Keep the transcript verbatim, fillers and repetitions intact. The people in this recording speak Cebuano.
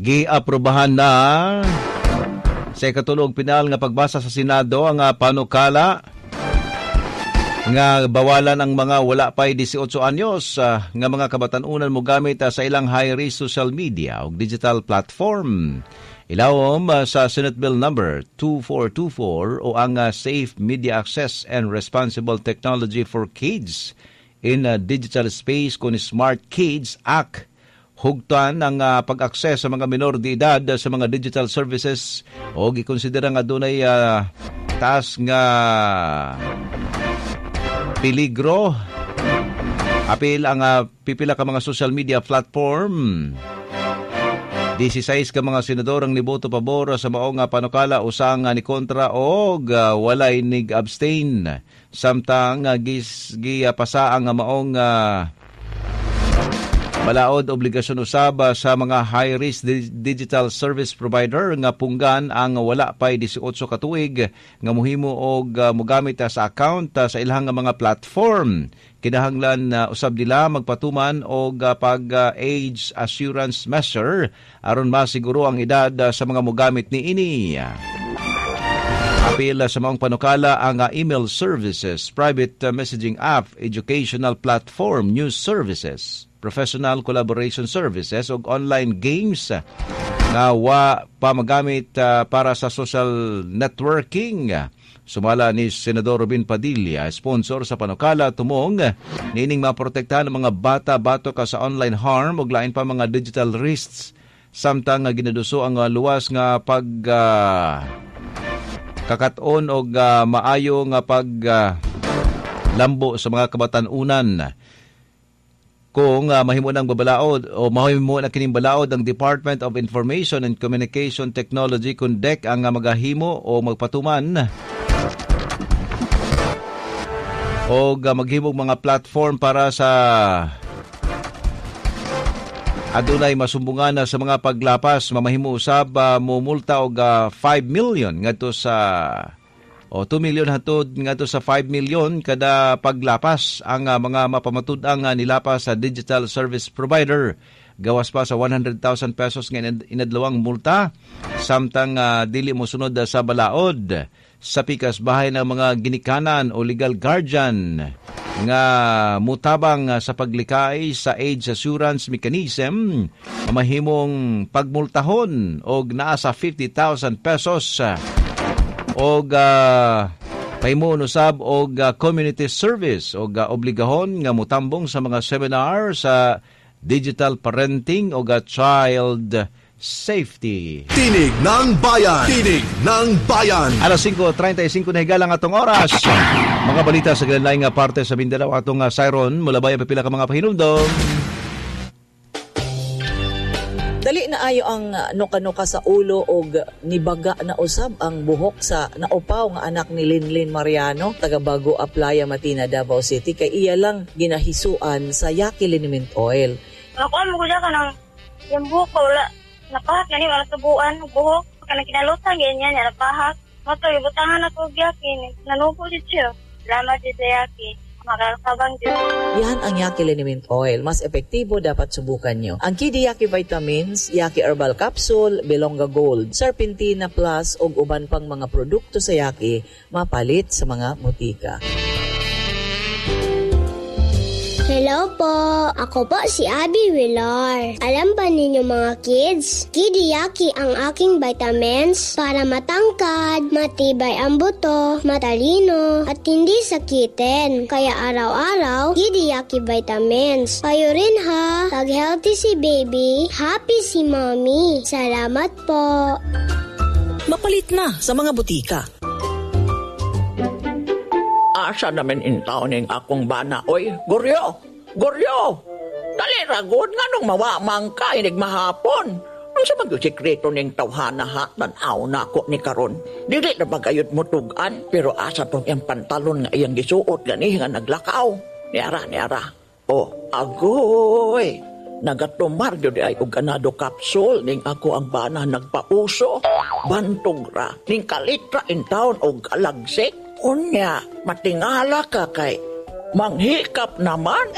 Giaprobahan na sa ikatulo ug pinal nga pagbasa sa Senado ang ah, panukala nga bawalan ang mga wala pa'y labing-walo anyos ah, nga mga kabatan-unan mo gamit ah, sa ilang high-risk social media ug digital platform. Ilawom ah, sa Senate Bill number twenty-four twenty-four o ang ah, Safe Media Access and Responsible Technology for Kids in ah, Digital Space kon Smart Kids Act, hugtan ang ah, pag-access sa mga minor de edad sa mga digital services o gikonsidera nga dunay ah, taas nga peligro. Apil ang ah, pipila ka mga social media platform. labing sais ka mga senador ang niboto pabor sa maong nga panukala, usa nga ni kontra og ah, walay nig-abstain. Samtang uh, gis gipasa ang maong ah, balaod, obligasyon usab ah, sa mga high-risk di- digital service provider nga punggan ang wala pa'y labing-walo ka tuig nga mohimo og ah, mogamit ah, sa account ah, sa ilang nga mga platform. Kinahanglan na usab nila magpatuman og ah, pag ah, age assurance measure aron masiguro ang edad ah, sa mga mogamit niini. Apil sa maong panukala ang ah, email services, private ah, messaging app, educational platform, news services, professional collaboration services ug online games ah, nga wa pa magamit ah, para sa social networking. Sumala ni Senador Robin Padilla, sponsor sa panukala, tumong niining maprotektahan ang mga bata batok ka sa online harm ug lain pa mga digital risks samtang nga ginaduso ang ah, luwas nga pag ah, kakat-on og ah, maayo nga pag ah, lambo sa mga kabatan-unan. Kung uh, mahimo ng babalaod o mahimo na kining balaod, ang Department of Information and Communication Technology kun D I C T ang uh, magahimo o magpatuman o uh, maghimog mga platform para sa adunay masumbungan na sa mga paglapas, mamahimo usab uh, mumulta og uh, five million ngadto sa o two million hantod ngadto sa five million kada paglapas ang uh, mga mapamatud-ang uh, nilapas sa digital service provider, gawas pa sa one hundred thousand pesos nga inad- inadlawang multa samtang uh, dili mosunod uh, sa balaod. Sa pikas bahay ng mga ginikanan o legal guardian nga mutabang uh, sa paglikay sa age assurance mechanism, mamahimong pagmultahon og naa sa fifty thousand pesos og uh, pahimuon usab og uh, community service og uh, obligahon nga mutambong sa mga seminar sa digital parenting og uh, child safety. Tinig ng Bayan! Tinig ng Bayan! Alas singko trentay singko na higala ang atong oras. Mga balita sa lain nga parte sa Mindanao, atong uh, siren mula ang pipila ka mga pahinumdom. Dali na ayo ang uh, nuka-nuka sa ulo og nibaga na usab ang buhok sa naupaw nga anak ni Linlin Mariano, taga Bago Aplaya, Matina, Davao City, kay iya lang ginahisuan sa Yaki Liniment Oil. Nakuha mo ko siya kanang yung buhok ko, wala. Napahak gani, wala tubuan, buhok. Kanang kinalutan, ganyan, niya, napahak. Mato, ibutangan ako og Yaki. Nanubo jud siya. Salamat jud sa Yaki. Makakabang jud. Yan ang Yaki Liniment Oil. Mas epektibo, dapat subukan nyo. Ang Kidi Yaki Vitamins, Yaki Herbal Capsule, Belonga Gold, Serpentina Plus ug uban pang mga produkto sa Yaki mapalit sa mga botika. Hello po! Ako po si Abby Villar. Alam ba ninyo, mga kids? Kidiyaki ang aking vitamins para matangkad, matibay ang buto, matalino, at hindi sakitin. Kaya araw-araw, Kidiyaki vitamins. Kayo rin ha! Pag healthy si baby, happy si mommy. Salamat po! Mapalit na sa mga botika. Asa naman in taon ning akong bana, oy? Goryo! Goryo! Dali ra gud, nganong mawamang ka inig mahapon? Unsa man gyud sekreto ning tawhana ha? Tan-aw na ako ni karon. Dili na bagayot mo tugan, pero asa tong iyang pantalon nga iyang gisuot gani nga naglakaw? Niara, niara. Oh, agoy! Nagatumar gyud ay og ganado capsule ning ako ang bana nagpauso. Bantog ra ning kalitra in town og alagsik. Unya, matingala ka kay manghikap naman.